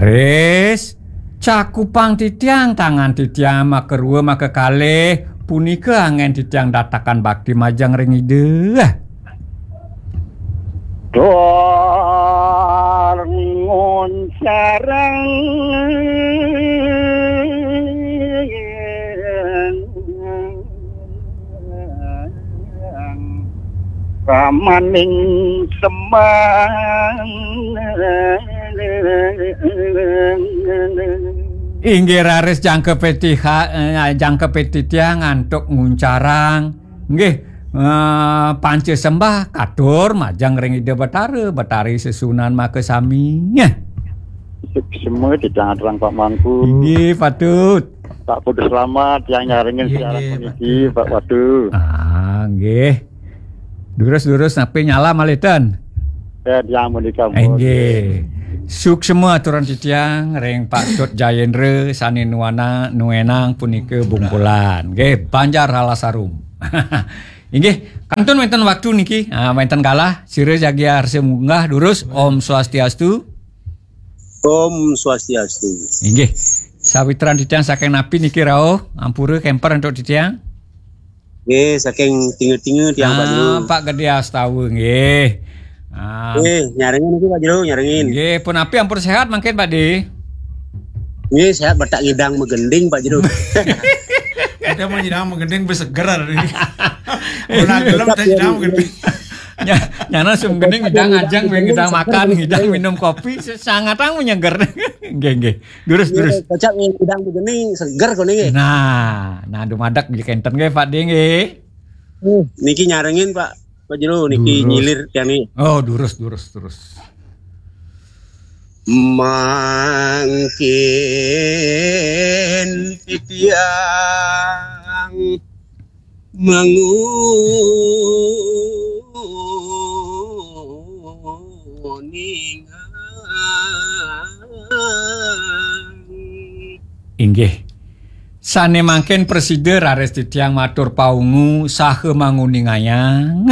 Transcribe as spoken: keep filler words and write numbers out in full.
Wis, cakupang titiang, tangan titiang makarua makakalih, punika anggen titiang datakan bakti majeng ring Ida. Dor ngoncarang ramaning sembah. Inggih raris jangkepé tiha-, eh, jangkepé titiang antuk nguncarang. Nggih, eh, panca sembah katur majeng ring Ida Betara, Betari sesuunan makasami. Nggih. Semua titiang aturang Pak Mangku. Inggih, patut. Pak Kudu selamat, tiang nyarengin Inggih, siaran inggih, puniki, Pak Watu. Ah, nggih. Durus-durus napi nyala malih ten? Ya, tiang punika, Pak. Inggih. Suksma aturan titiang ring Pak Tut Jayendra sané nuana-, nuénang punika Bungkulan. Nggih, Banjar Halasarum. Inggih, kantun wénten waktu niki, ah, wénten galah, sira jagi arsa munggah durus. Om Swastiastu. Om Swastiastu. Inggih. Sawitran titiang saking napi niki rauh, ampura kémper antuk titiang? Nggih, saking Tinga-Tinga tiang, Pak Jero. Ah, Pak Gede Astawa, nggih. Ah. Nggih, nyarengin niki, Pak Jero, nyarengin. Nggih, punapi ampun séhat mangkin, Pak De? Nggih, séhat, batak ngidang magending, Pak Jero. Kita mau ngidang magending, beseger hari ini. Mun gelem teh ngidang magending. Nya, nyana sum gending ngidang ajeng, ngidang makan, ngidang minum kopi, sangatang menyeger. Nggih, nggih. Durus, durus. Kocap ngidang begini seger koné nggih. Nah, nah dumadak nggih kénten nggih, Pak De nggih. Uh, niki nyarengin, Pak, Pak Jero, niki durus. Nyilir tiang niki. Oh, durus, durus, durus. Mangkin titiang manguningang. Inggih. Sané mangkin prasida raris titiang matur paungu saha manguningayang.